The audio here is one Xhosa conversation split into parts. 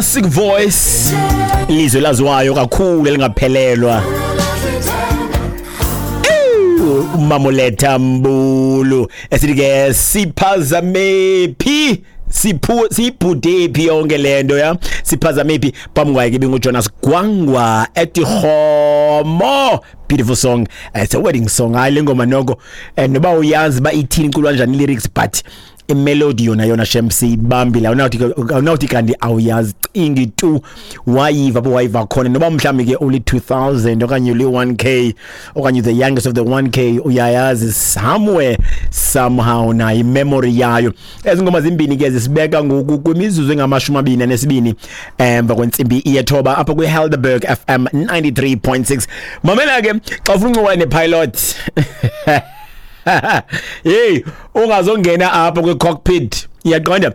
Classic voice, ilizwe laziwayo kakhulu elingaphelelwa, uMamoletha Mbulu, esithi ke siphazame phi, siphu siyibhude phi yonke lento ya siphazame phi. Phambi kwakhe ibinguJonas Gwangwa ethi Homo. Beautiful song. It's a wedding song. Hayi, le ngoma noko, noba uyazi ba ithini, iculwa njani lyrics, but imelody yona yona shem siyibambile. Awunawuthi kanti awuyazi, cingi tu wayiva apho wayiva khona, noba mhlawumbi ke uli 2000 okanye uli 1K okanye the youngest of the 1K, uyayazi somewhere somehow nayo imemory yayo. Ezi ngoma zimbini ke zisibeka ngoku kwimizuzu engama-22 emva kwentsimbi yethoba apha kwi-Helderberg FM 93.6. Mamela ke, xa ufuna uncokola nepilot, hey, ungazongena apha kwi-cockpit, iyaqonda,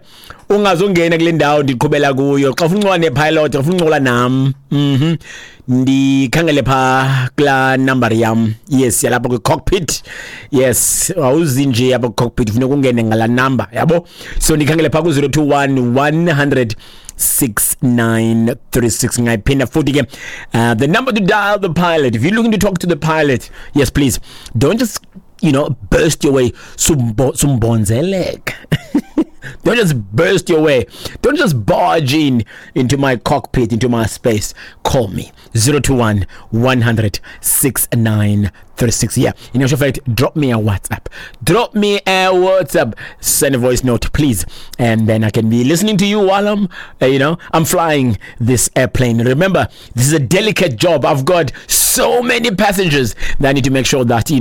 ungazongena kule ndawo ndiqhubela kuyo. Xa ufuna uncokola nepilot, xa ufuna uncokola nam, ndikhangele phaa kulaa number yam, yes, yalapha kwi-cockpit. Yes, awuzi nje apha kwi-cockpit, funeka ungene ngalaa number yabo. So ndikhangele phaa ku-021 100 6936. Ngayiphinda futhi ke, the number to dial the pilot if you're looking to talk to the pilot. Yes, please don't just burst your way, sumbonzeleka. Don't just burst your way. Don't just barge in into my cockpit, into my space. Call me 021 100 6936. Yeah, in actual fact, drop me a WhatsApp. Drop me a WhatsApp. Send a voice note, please. And then I can be listening to you while I'm flying this airplane. Remember, this is a delicate job. I've got so many passengers that I need to make sure that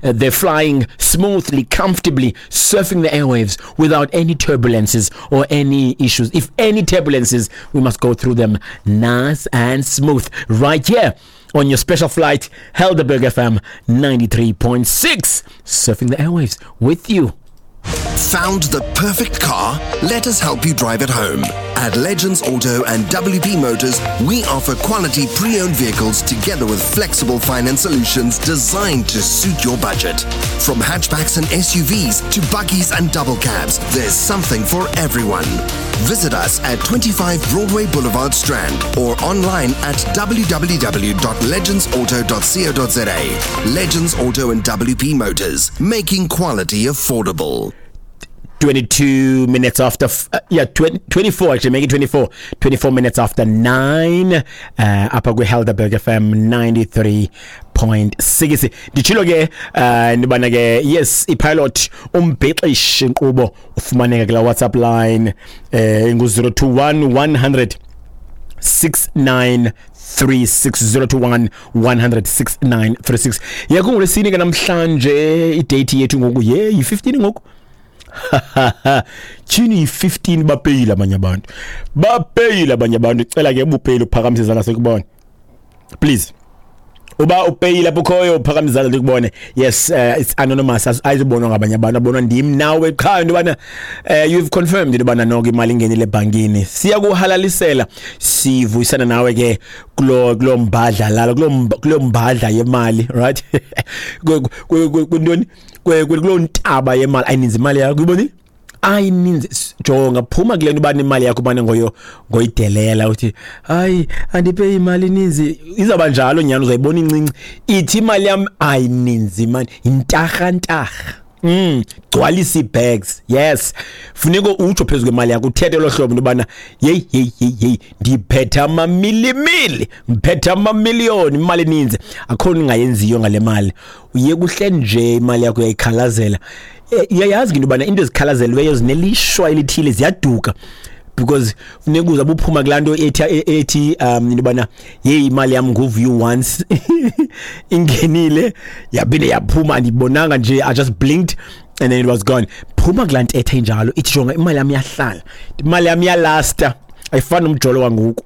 they're flying smoothly, comfortably, surfing the airwaves without any turbulences or any issues. If any turbulences, we must go through them nice and smooth right here on your special flight, Helderberg FM 93.6, surfing the airwaves with you. Found the perfect car? Let us help you drive it home. At Legends Auto and WP Motors, we offer quality pre owned vehicles together with flexible finance solutions designed to suit your budget. From hatchbacks and SUVs to buggies and double cabs, there's something for everyone. Visit us at 25 Broadway Boulevard, Strand, or online at www.legendsauto.co.za. Legends Auto and WP Motors, making quality affordable. 22 minutes after, yeah, 20, 24 actually, make it 24, 24 minutes after 9, apha kwi-Helderberg FM 93.6. Nditshilo ke ndibana ke, yes, ipilot, umbhexeshi inkqubo, ufumaneka kula WhatsApp line ingu-021 100 6936, 021 100 6936. Yakungolwesine ke namhlanje, idate yethu ngoku ye yi-15 ngoku. Tyhini, yi-15, bapeyile abanye abantu, bapeyile abanye abantu. Cela ke ubupeyile uphakamise izandla sikubone, please. Uba upeyile apho ukhoyo, uphakamise izandla ndikubone. Yes, it's anonymous, ayizubonwa ngabanye abantu, abonwa ndim nawe qha into yobana you've confirmed into yobana noko imali ingenile ebhankini. Siyakuhalalisela, sivuyisana nawe ke kulo mbadla lalo kulo mbadla yemali, right? Kwintoni, kuloo ntaba yemali. Ayininzi imali yakho, uyibonile, ayininzi. Jonga, phuma kule nto uba nemali yakho ubane ngoyo ngoyidelela, uthi hayi, andiphe imali ininzi. Izawuba njalo nyhani, uzayibona incinci. Ithi imali yam ayininzi mani, yintarha-ntarha. Gcwalisa ii-bags. Yes, funeka utsho phezu kwemali yakho, uthethe elo hlobo into yobana yeyi yeyi yeyi yeyi, ndiphethe amamilimili, ndiphethe amamiliyoni, imali eninzi, akho nto ingayenziyo ngale mali. Uye kuhle nje imali yakho uyayikhalazela. Uyayazi ke into yobana into ezikhalazelweyo zinelishwa elithile, ziyaduka, because funeka uzabe uphuma kulaa nto ethi into yobana yeyi, imali yam ngu-view once, ingenile yaphinde yaphuma, andiyibonanga nje, I just blinked and then it was gone. Phuma kulaa ntetha injalo, ithi jonga, imali yam iyahlala, imali yam iyalasta, ayifani nomjolo wangoku.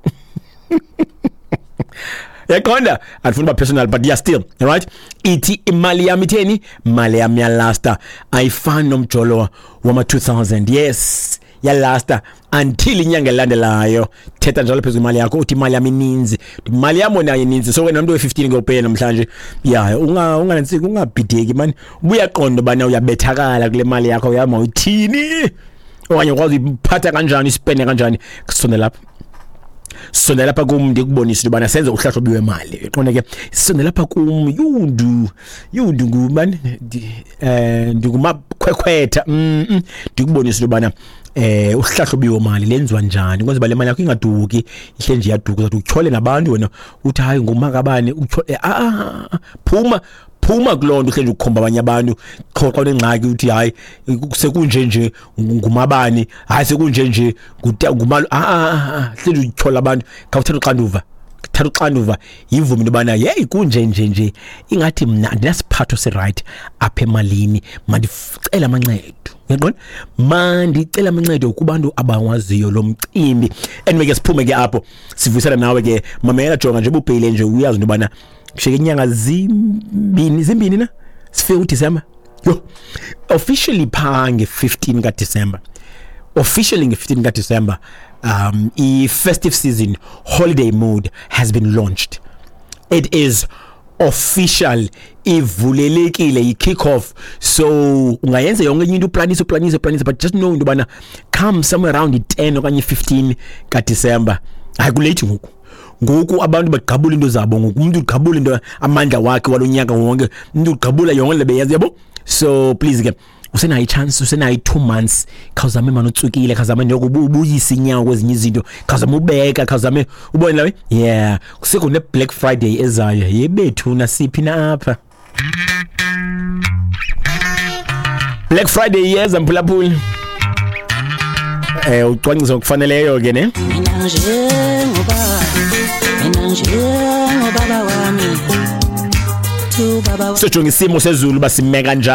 Yaqonda, andifuni uba personal, but yeah, still right. Ithi imali yam itheni, imali yam iyalasta, ayifani nomjolo wama-2000. Yes, yalasta until inyanga elandelayo. Thetha njalo phezu kwemali yakho, uthi imali yam ininzi, imali yam wena ininzi. So wena mntu we-15 ke upeye namhlanje, ya, unganantsiki, ungabhideki mani, ubuyaqonda ubana uyabethakala kule mali yakho yama uyithini okanye ukwazi uyiphatha kanjani, ispende kanjani. Kusondela lapha. Sondela lapha kum ndikubonise into yobana senze uhlahlo lwemali. Uqonda ke, sondela lapha kum, yundu yundu ngubani, ndingumakhwekhwetha, ndikubonise into yobana uhlahlo biwomali lenziwa njani kwenza uba le mali yakho ingaduki, ihle nje iyaduka. Uzathi utyhole nabantu wena uthi hayi ngumakabani, utyhole. Phuma phuma kuloo nto, uhleli nje ukukhomba abanye abantu qho xa unengxaki, uthi hayi sekunje nje ngumabani, hayi sekunje nje ngumalo. Hleli utyhola abantu. Khawuthatha uxanduva, thatha uxanduva, yivume into yobana yeyi kunje nje nje, ingathi mna andinasiphatho sirayithi apha emalini, mandicele amancedo. Uyaqonda, mandicele amancedo kubantu abawaziyo lo mcimbi. Anyway ke, siphume ke apho, sivuyisana nawe ke. Mamela, jonga nje, ububheyile nje, uyazi into yobana kushiyeke inyanga zimbini, zimbini na sifike uDisemba. Yho, officially phaa nge-15 kaDisemba, officially nge-15 kaDisemba, i-festive season holiday mood has been launched. It is official, ivulelekile, i-kick off. So ungayenza yonke enye into, uplanise uplanise uplanise, but just know into yobana come somewhere around i-10 okanye i-15 kaDisemba, hayi kulate ngoku. Ngoku abantu bagqabula into zabo, ngoku umuntu ugqabula into, amandla wakhe walo nyaka wonke, umuntu ugqabula yonke le beyenza, yabo. So please ke, usenayo ichance, usenayo i-2 months. Khawuzame mani utsukile, khawuzame noko ubuyise inyawo kwezinye izinto, khawuzame ubeka, khawuzame ubone lawe. Yeah, kusekho ne-Black Friday ezayo yebethu, nasiphi na apha. Black Friday iyeza, mphulaphuli. Ucwangciso ngokufaneleyo ke ne. Mina njengobaba wami, tu baba. Sojonga isimo sezulu basimeka njani.